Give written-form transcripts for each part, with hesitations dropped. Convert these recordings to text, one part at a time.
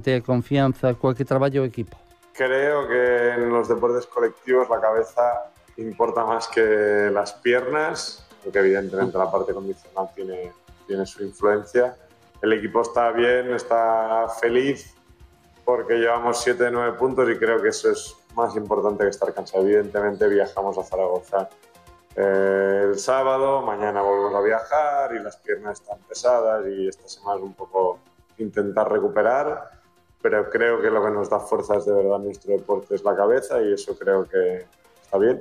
de confianza coa que traballa o equipo. Creo que en los deportes colectivos la cabeza importa más que las piernas, porque evidentemente la parte condicional tiene su influencia. El equipo está bien, está feliz porque llevamos 7 de 9 puntos y creo que eso es más importante que estar cansado. Evidentemente viajamos a Zaragoza el sábado, mañana volvemos a viajar y las piernas están pesadas y esta semana es un poco intentar recuperar, pero creo que lo que nos da fuerzas de verdad nuestro deporte es la cabeza y eso creo que está bien.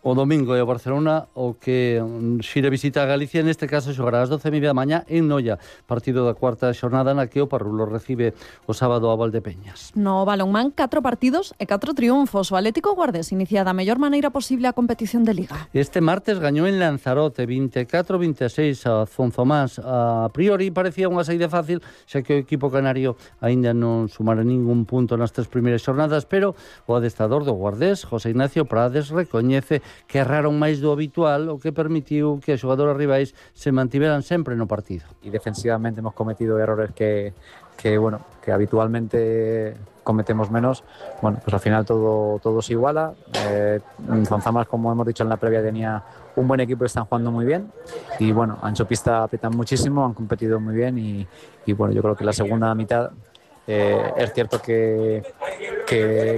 O domingo é o Barcelona o que xire visita a Galicia, neste caso xogará ás 12:30 da mañá en Noia, partido da cuarta xornada na que o Parrulo recibe o sábado a Valdepeñas. No balonmán, 4 partidos e 4 triunfos. O Atlético Guardés inicia da mellor maneira posible a competición de Liga. Este martes gañou en Lanzarote 24-26 a Zonzomás. A priori parecía unha saída fácil, xa que o equipo canario aínda non sumara ningún punto nas 3 primeiras xornadas, pero o adestrador do Guardés, José Ignacio Prades, recoñece que erraron máis do habitual, o que permitiu que os xogadores rivais se mantiveran sempre no partido. Y defensivamente hemos cometido errores que habitualmente cometemos menos. Bueno, pues al final todo se iguala. Zonzamas, como hemos dicho en la previa, tenía un buen equipo y están jugando muy bien. Y bueno, ancho pista apretan muchísimo, han competido muy bien y bueno, yo creo que la segunda mitad es cierto que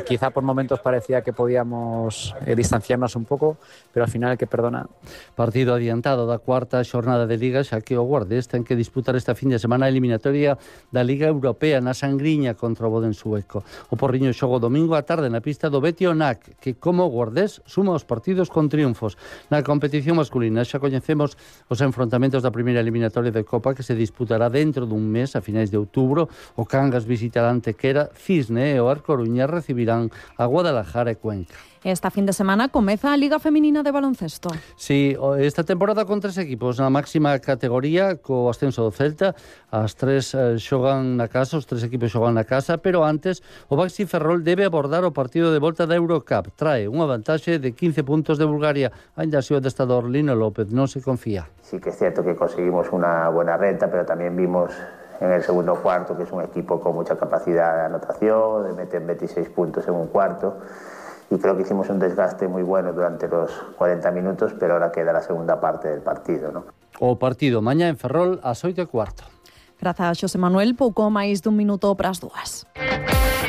quizá por momentos parecía que podíamos distanciarnos un poco, pero al final hay que perdonar. Partido adiantado da cuarta xornada de Liga, xa que o Guardés ten que disputar esta fin de semana a eliminatoria da Liga Europea na Sangriña contra o Boden sueco. O Porriño xoga domingo á tarde na pista do Betis Onac, que como o Guardés suma os partidos con triunfos. Na competición masculina xa coñecemos os enfrontamentos da primeira eliminatoria de Copa que se disputará dentro dun mes, a finais de outubro. O Cangas visitará Antequera, Cisne e o Arcoruña recibirán a Guadalajara e Cuenca. Esta fin de semana comeza a Liga Feminina de Baloncesto. Sí, esta temporada con 3 equipos na máxima categoría, co ascenso do Celta. As 3 xogan na casa, os 3 equipos xogan na casa, pero antes o Baxi Ferrol debe abordar o partido de volta da Eurocup. Trae unha vantaxe de 15 puntos de Bulgaria. Ainda así o adestrador Lino López non se confía. Sí que es cierto que conseguimos una buena renta, pero también vimos en el segundo cuarto que es un equipo con mucha capacidad de anotación, de meter 26 puntos en un cuarto. Y creo que hicimos un desgaste muy bueno durante los 40 minutos, pero ahora queda la segunda parte del partido, ¿no? O partido mañá en Ferrol ás 8:15. Grazas, Xosé Manuel. Pouco máis dun minuto para as 2.